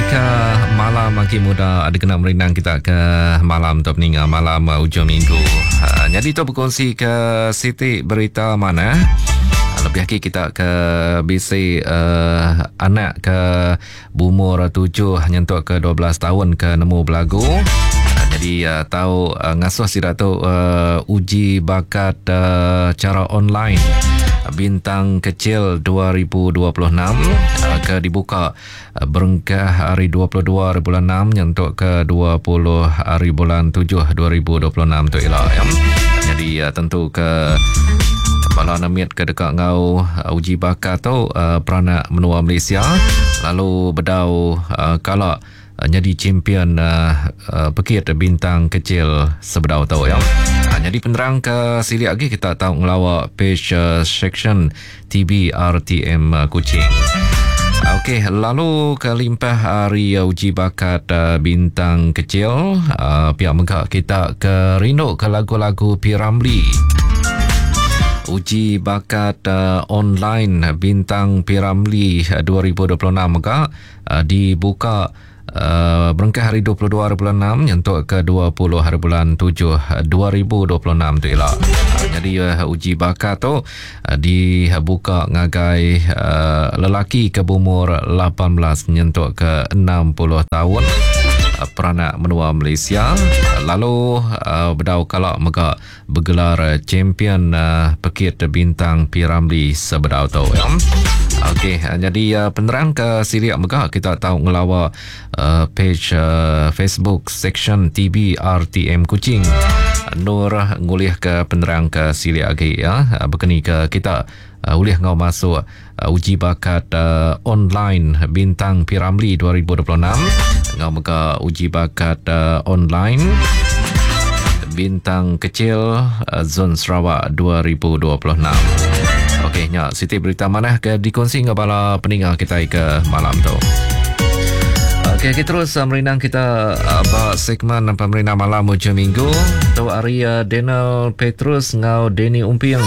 Jessica malam agi muda ada kena merindang kita ke malam tu peninga malam uh, ujung minggu. Uh, jadi tu berkongsi ke siti berita mana uh, lebih lagi kita ke bisi uh, anak ke Bumur tujuh nyentuk ke 12 taun ke nemu belagu. Jadi uh, tau uh, ngasuh sida tu uh, uji bakat uh, cara online Bintang Kecil 2026 uh, ke dibuka uh, berengkah hari 22 hari bulan 6 nyentuk ke 20 hari bulan 7 2026 tu ila ya. Jadi uh, tentu ke Bala nemit ke deka enggau uji baka tu peranak menua Malaysia lalu bedau kala nyadi champion pekit bintang kecil sebedau tu ya. Nyadi penerang ke silik agi kita tau ngelawa page section TBRTM Kuching. Okey, lalu ke limpah hari uji bakat bintang kecil, pia mega kita ke rindu ke lagu-lagu P. Ramlee. Uji bakat online bintang P. Ramlee 2026 mega dibuka berengkah hari 22 hari bulan 6 nyentuk ke 20 hari bulan 7 2026 tu ila. Jadi uji bakat tu dibuka ngagai lelaki ke berumur 18 nyentuk ke 60 taun peranak menua Malaysia lalu bedau kala mega begelar champion pekit bintang P. Ramlee sebedau tu. Okey, jadi penerang ke silik mega kita tau ngelawa page Facebook section TBRTM Kuching. Nur ngulih ke penerang ke silik agi ya bekeni ke kita ulih ngau masuk uji bakat online bintang P. Ramlee 2026 ngau mega uji bakat online bintang kecil Zon Sarawak 2026. Okey nya siti berita manah ke dikongsi enggau bala peninga kitai ke malam tu. Okey, kita terus merindang kita ba segmen pemerindang malam hujung minggu. Tu hari Daniel Petrus enggau Danny Umping.